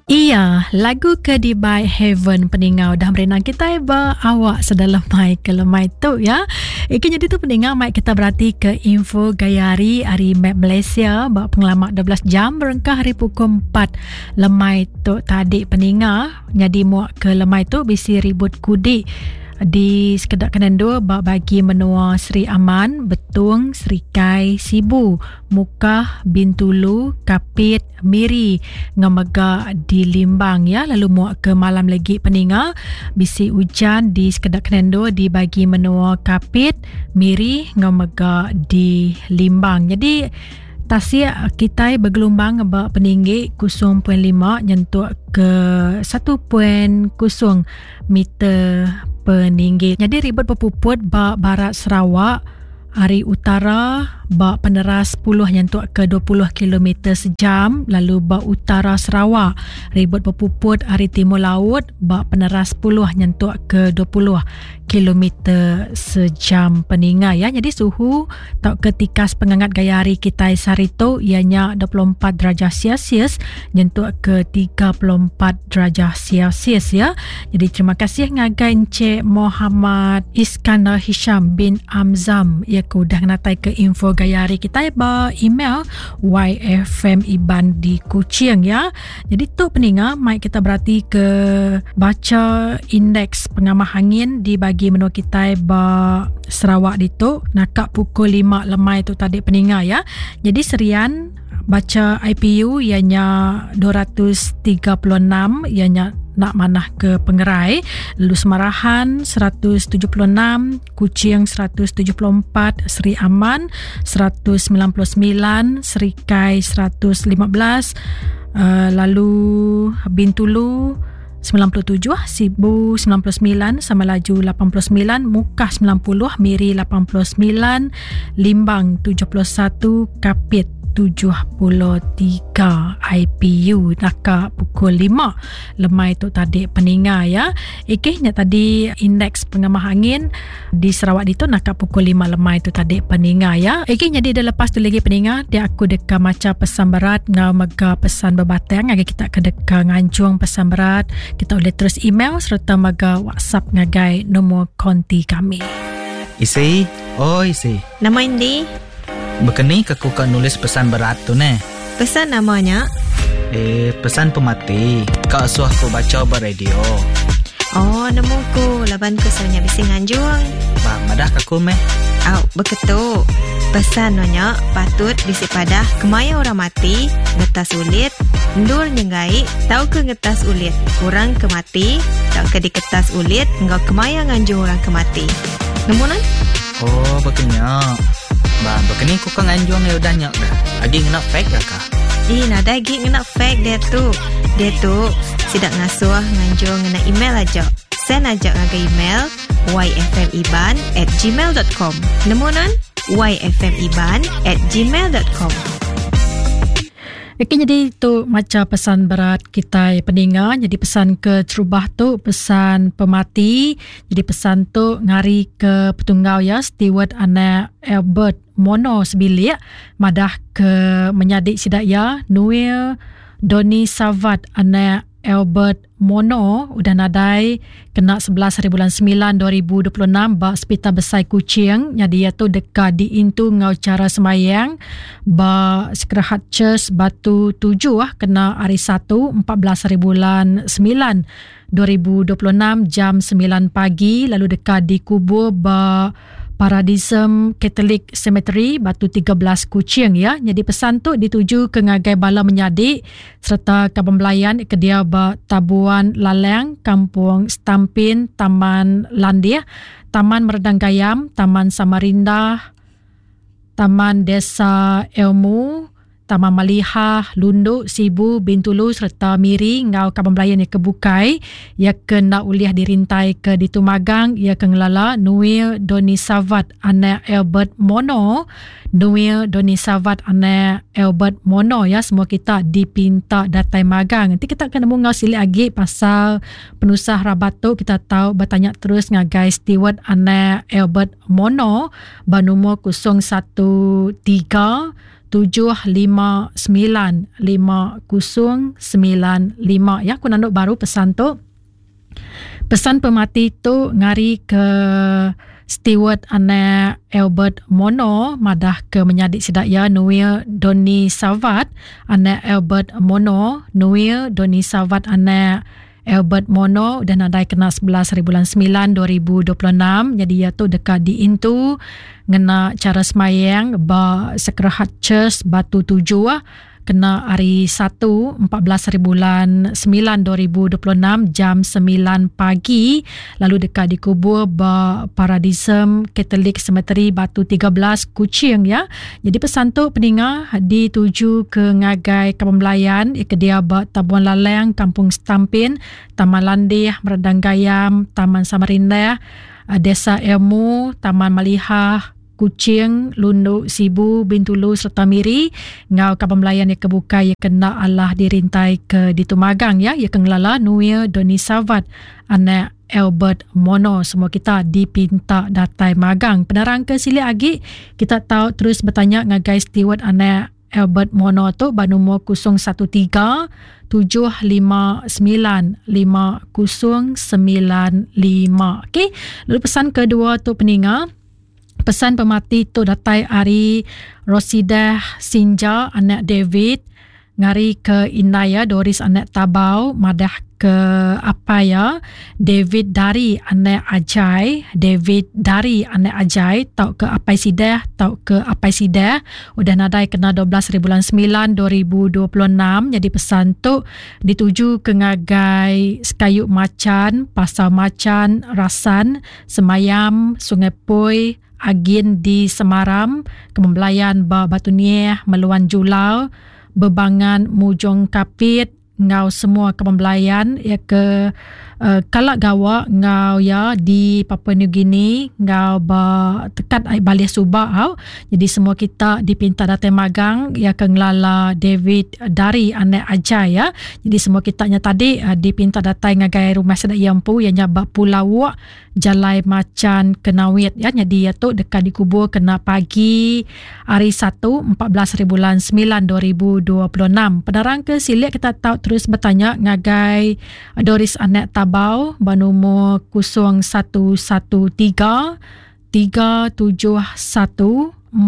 Iya, lagu ke dibai Heaven peningau dah merindang kitai ba awak sedalemai ke lemai tu ya. Ika nyadi tu peningau mai kita berati ke info gaya hari ari map Malaysia ba pengelama 12 jam berengkah hari pukul 4 lemai tu tadi peninga nyadi muak ke lemai tu bisi ribut kudik di sekeda kenendur ba bagi menua Sri Aman, Betong, Serikai, Sibu, Mukah, Bintulu, Kapit, Miri enggau mega di Limbang ya lalu muak ke malam legi peninga bisi ujan di sekeda kenendur di bagi menua Kapit, Miri enggau mega di Limbang. Jadi tasik kitai begelumbang ba peninggi 0.5 nyentuk ke 1.0 meter peninggi. Jadi ribut bepuput ba barat Sarawak ari utara ba peneras 10 nyentuk ke 20 kilometer sejam lalu ba utara Sarawak ribut bepuput ari timur laut ba peneras 10 nyentuk ke 20 kilometer sejam peninga ya. Jadi suhu tauka tikas pengangat gaya hari kitai sehari tu iya nya 24 darjah Celsius nyentuk ke 34 darjah Celsius ya. Jadi terima kasih ngagai Encik Muhammad Iskandar Hisham bin Amzam ya ke udah ngenatai ke info gaya hari kitai ba email yfmiban di Kuching ya. Jadi tu peninga mai kita berati ke baca indeks pengamah angin di bagi menua kitai ba Sarawak ditu naka pukul 5 lemai tu tadi peninga ya. Jadi Serian baca IPU iya nya 236 iya nya nak manah ke pengerai lalu Semarahan 176 Kuching 174 Seri Aman 199 Serikai 115 uh, lalu Bintulu 97, Sibu 99, Samalaju 89, Mukah 90, Miri 89, Limbang 71, Kapit 73 IPU naka pukul 5 lemai tu tadi peninga ya. Ikih nya tadi indeks pengamah angin di Sarawak ditu naka pukul 5 lemai tu tadi peninga ya. Egi nyadi dah lepas tu lagi peninga dia aku deka macha pesan berat ngau mega pesan bebatang ngagai kita ke deka nganjung pesan berat kita boleh terus email sereta mega WhatsApp ngagai nombor konti kami. Isi, oi isi. Nama indi? Bekeni ke ku ka nulis pesan berat tu neh? Pesan nama nya? Eh, pesan pemati. Ka suah ku bacha ba radio. Oh, nemu ku laban ku selalu nya bisi nganjung. Ba, madah ka ku meh. Au, beketu. Pesan no nya patut bisi padah kemaya orang mati, ngetas ulit, endur nyenggai tauka ngetas ulit orang ke mati tauka diketas ulit enggau kemaya nganjung orang ke mati. Nemu nan? Oh, baka nya. Ba, baka ni ku ka nganjung iya udah nya ga. Agi ngena fax ga ka? Ih, nadai agi ngena fax diatu. Diatu, sida ngasuh nganjung ngena email aja. Send aja ngagai email yfmiban at gmail dot com. Nemu nan? yfmiban at gmail dot com. Okey nyadi tu macha pesan berat kitai peninga nyadi pesan ke terubah tu pesan pemati Jadi pesan tu ngari ke petunggau iya Steward anak Albert Mono sebilik madah ke menyadi sida iya Noel Donny Savat anak Albert Mono udah nadai kena 11 hari bulan 9 2026 ba Sepital Besai Kuching. Nyadi iya tu deka diintu enggau chara sembahyang ba Sacred Heart Church Batu 7 kena hari Satu 14 hari bulan 9 2026 jam 9 pagi lalu deka dikubur ba Paradisum Catholic Cemetery Batu 13 Kuching ya. Nyadi pesan tu dituju ke ngagai bala menyadi sereta kaban belayan ke diau ba Tabuan Lalang, Kampung Stampin, Taman Landih, Taman Meredang Gayam, Taman Samarinda, Taman Desa Ilmu, Taman Malihah, Lundu, Sibu, Bintulu sereta Miri enggau kaban belayan iya ke bukai. Iya ke enda ulih dirintai ke ditu magang iya ke ngelala Noel Donny Savat anak Albert Mono. Noel Donny Savat anak Albert Mono ya semua kita dipinta datai magang. Enti kita ke nemu enggau silik agi pasal penusah rabat tu kita tau betanya terus ngagai Steward anak Albert Mono ba numur 013. 759 5095 ya aku nandu baru pesan tu. Pesan pemati tu ngari ke Steward anak Albert Mono madah ke menyadi sida iya Noel Donny Savat anak Albert Mono Noel Donny Savat anak Albert Mono udah nadai kena 11 hari bulan 9 2026 nyadi iya tu deka diintu ngena chara semayang ba Sacred Heart Church Batu Tujuh kena hari Satu 14 hari bulan 9 2026 jam 9 pagi lalu deka dikubur ba Paradisum Catholic Cemetery Batu 13 Kuching ya. Jadi pesan tu peninga dituju ke ngagai Kampung Belayan ke dia ba Tabuan Lalang, Kampung Stampin, Taman Landih, Meredang Gayam, Taman Samarindah, Desa Ilmu, Taman Malihah, Kuching, Lundu, Sibu, Bintulu sereta Miri enggau kaban belayan iya ke bukai iya ke enda alah dirintai ke ditu magang ya iya ke ngelala Nuil Doni Savat anak Albert Mono semua kita dipinta datai magang. Penerang ke silik agi kita tau terus betanya ngagai Steward anak Albert Mono tu ba numur 013 759 5095. Okey, lalu pesan kedua tu peninga Pesan pemati tu datai ari Rosidah Sinja anak David ngari ke indai iya Doris anak Tabau madah ke apai iya David Dari anak Ajai David Dari anak Ajai tauka apai Sidah tauka apai Sidah udah nadai kena 12 hari bulan 9 2026 nyadi pesan tu dituju ke ngagai Sekayu Machan Pasar Machan Rasan Semayam, Sungai Poi, Agin di Semaram, Kemembelayan ba Batu Nieh, Meluan Julau, Bebangan Mujong Kapit enggau semua kemembelayan iya ke uh, kala gawa enggau iya di Papua New Guinea enggau ba tekat ai Balih Suba au. Jadi semua kita dipinta datai magang iya ke ngelala David Dari anak Ajai ya. Jadi semua kita nya tadi uh, dipinta datai ngagai rumah sida iya empu iya nya ba Pulau Wok Jalai Machan Kenawit ya. Jadi iya tu deka dikubur kena pagi hari Satu 14 hari bulan 9 2026. Penerang ke silik kita tau terus bertanya ngagai Doris Anak Tabau ba nomor 0113 371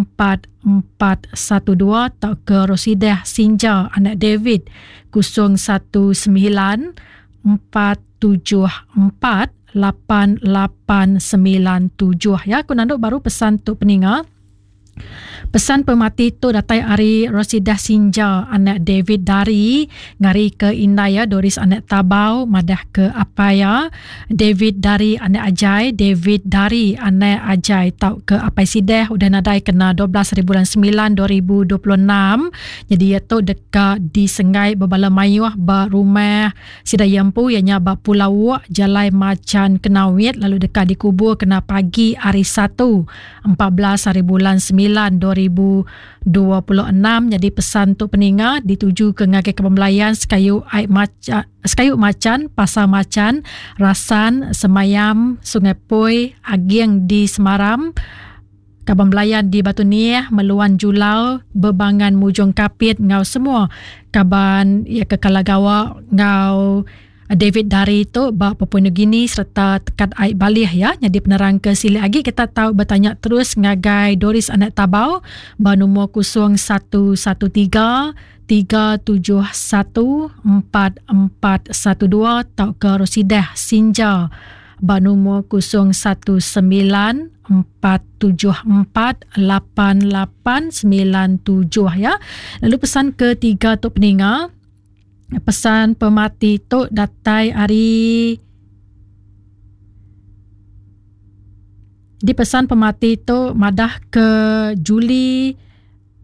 4412 tauka Rosidah Sinja anak David 019 474 8897 ya aku nandu baru pesan tu peninga Pesan pemati tu datai ari Rosidah Sinja anak David Dari ngari ke indai iya Doris anak Tabau madah ke apai iya David Dari anak Ajai David Dari anak Ajai tauka apai Sideh udah nadai kena 12 hari bulan 9 2026 nyadi iya tu deka disenggai bebala mayuh ba rumah Sida iya empu iya nya ba Pulau Wok, Jalai Machan Kenawit lalu deka dikubur kena pagi hari Satu, 14 hari bulan 9 2026 nyadi pesan tu peninga ditujuka ngagai Kaban Belayan sekayu ai macha sekayu Machan, Pasar Machan, Rasan, Semayam, Sungai Poi, Aging di Semaram, Kaban belayan di Batu Nieh, Meluan Julau, Bebangan Mujong Kapit enggau semua kaban iya ke kala gawa enggau David Dari tu ba Papua New Guinea sereta tekat ai Balih ya. Nyadi penerang ke silik agi kita tau betanya terus ngagai Doris Anak Tabau ba nomor 0113 371 4412 tauka Rosidah Sinja ba numur 019 474 8897 ya. Lalu pesan ketiga tu peninga pesan pemati tu datai ari di pesan pemati tu madah ke Julie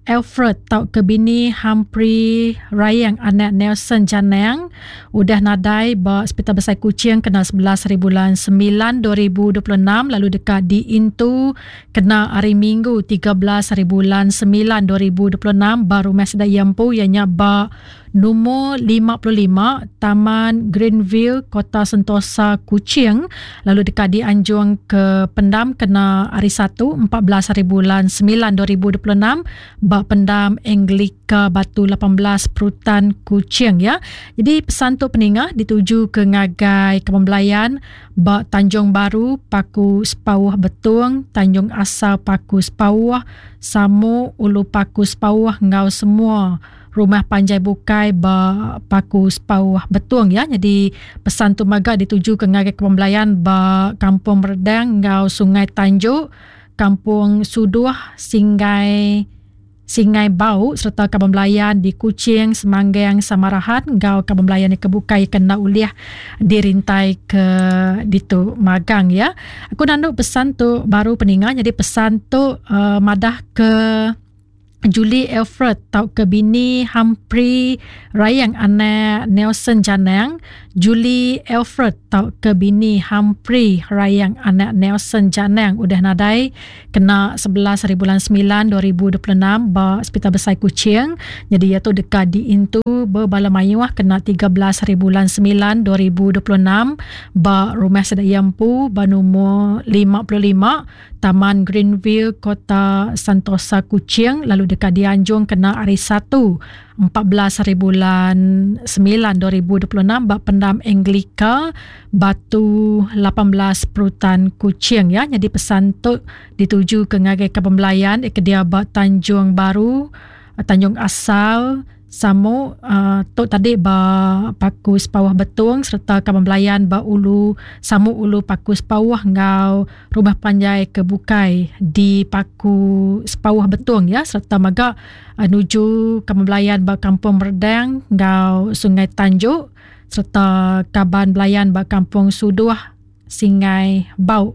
Alfred tauka bini Humphrey Rayeng anak Nelson Janang udah nadai ba Sepital Besai Kuching kena 11 hari bulan 9 2026 lalu deka diintu kena hari Minggu 13 hari bulan 9 2026 ba rumah sida iya empu iya nya ba. Numur 55, Taman Greenville, Kota Sentosa, Kuching lalu deka dianjung ke pendam kena Hari Satu, 14 haribulan 9 2026 ba Pendam Anglika Batu 18 Perutan, Kuching ya. Jadi pesan tu peninga dituju ke ngagai Kaban Belayan ba Tanjung Baru, Paku Sepauh Betong, Tanjung Asal Paku Sepauh, Samu Ulu Paku Sepauh enggau semua rumah panjai bukai ba Paku Sepauh Betong ya. Jadi pesan tu mega dituju ke ngagai Kaban Belayan ba Kampung Meredang enggau Sungai Tanjok, Kampung Suduh, Singgai Singai Bau sereta Kaban Belayan di Kuching, Semanggang, Samarahan enggau Kaban Belayan ke bukai ke enda ulih dirintai ke ditu magang ya. Aku nandu pesan tu baru peninga jadi pesan tu uh, madah ke Julie Alfred tauka bini Humphrey Rayang anak Nelson Janang, Julie Alfred tauka bini Humphrey Rayang anak Nelson Janang udah nadai kena 11 hari bulan 9 2026 ba Sepital Besai Kuching. Nyadi iya tu deka diintu bebala mayuh kena 13 hari bulan 9 2026 ba Rumah Sida Iya empu ba numur 55 Taman Greenville, Kota Santosa, Kuching lalu deka dianjung kena Hari Satu, 14 haribulan 9 2026 ba Pendam Anglika, Batu 18 Perutan, Kuching ya. Nyadi pesan tu dituju ke ngagai kaban belayan ke dia ba Tanjung Baru, Tanjung Asal, Samu uh, tu tadi ba Paku Sepauh Betong sereta kaban belayan ba Ulu Samu Ulu Paku Sepauh enggau rumah panjai ke bukai di Paku Sepauh Betong ya sereta mega uh, nuju kaban belayan ba Kampung Merdang enggau Sungai Tanjok sereta kaban belayan ba Kampung Suduh Singai Bau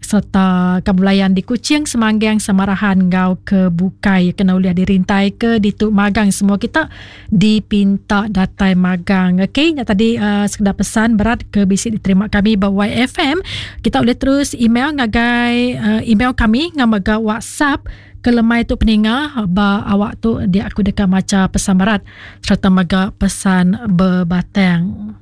sereta kebelayan di Kuching, Semanggang, Samarahan enggau ke bukai kena ulih dirintai ke ditu magang semua kita dipinta datai magang. Okey, nya tadi uh, sekedar pesan berat ke bisi diterima kami ba YFM. Kita boleh terus email ngagai uh, email kami ngau mega WhatsApp ke lemai tu peninga ba awak tu dia aku deka macha pesan berat sereta mega pesan bebatang.